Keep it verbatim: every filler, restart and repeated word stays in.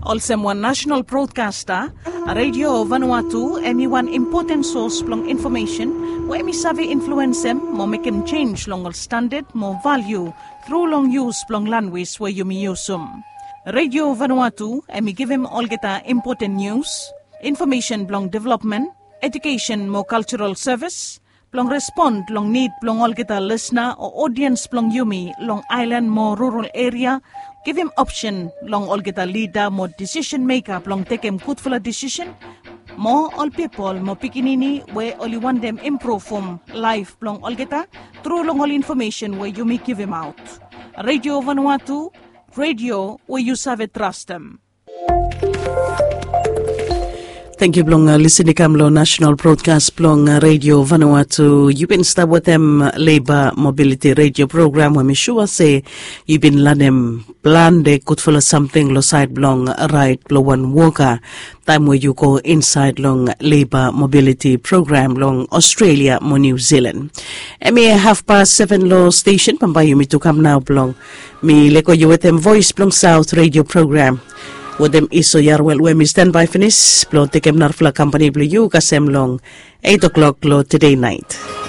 Olsem wan national broadcaster, Radio Vanuatu em i wan impoten sos blong infomesen we em i save influensem mo mekem jenj long ol standad mo valiu tru long yus blong lanwis we yumi yusum. Radio Vanuatu em i givim olgeta impoten nius, infomesen blong developmen, edukesen mo kaltural sevis, blong respon long nid blong olgeta lisna o odiens blong yumi long aelan mo rural eria, givim opsen long olgeta lida mo disisen meka blong tekem gudfala disisen, mo ol pipol mo pikinini we oli wantem impruvum laef blong olgeta tru long ol infomesen we yumi givimaot. Radio Vanuatu, radio we yu save trastem. Tangkiu blong lisin i kam long national broadcast blong Radio Vanuatu. Yu bin stap wetem Labor Mobility Radio Program we mi sua se yu bin lanem plante gudfala samting long sait blong rait blong wan woka taem we yu go insaed long Labor Mobility Program long Australia mo New Zealand. Em i hafpas seven long stesen, bambae yumi tu kam nao blong mi lego yu wetem Voes blong Saot Radio Program wetem Iso Yarwel we mi stanbae finis blong tekem narafala kampani blong yu kasem long eit o'klok long tede naet.